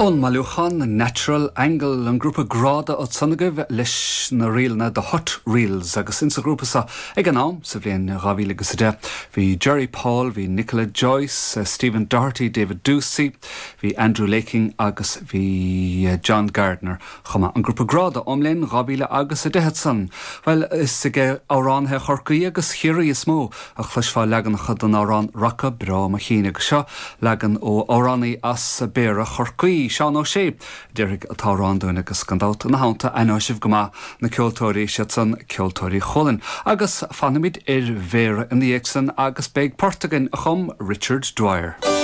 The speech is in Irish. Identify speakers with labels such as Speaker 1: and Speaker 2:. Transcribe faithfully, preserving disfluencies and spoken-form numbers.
Speaker 1: Ón mbailiúchán Natural Angle an grúpa Gráda ansan agaibh leis na ríleanna The Hut Reels agus insa ghrúpa seo ag an am sa bhliain dhá mhíle agus a deich. Bhí Jerry Paul, bhí Nicola Joyce, uh, Stephen Doherty, David Ducey, bhí Andrew Laking agus bhí uh, John Gardner chuma an grúpa Gráda ón mbliain dhá mhíle agus a deich ansan. Well is ag amhránaithe Chorcaí agus Chiarraí is mó a chloisfeá leaganacha den amhrán Raca Breá Mo Chinn agus seo leagan ó amhránaí as Béarra Chorcaí. Seán Ó Sé déarfaidh an t-amhrán dúinn agus gan dabht ina theannta aithneoidh sibh go maith na ceoltóirí siad san ceoltóirí Chualann. Agus fanfaimid ar Bhéarra ina dhiaidh san agus beidh port againn a chum Richard Dwyer.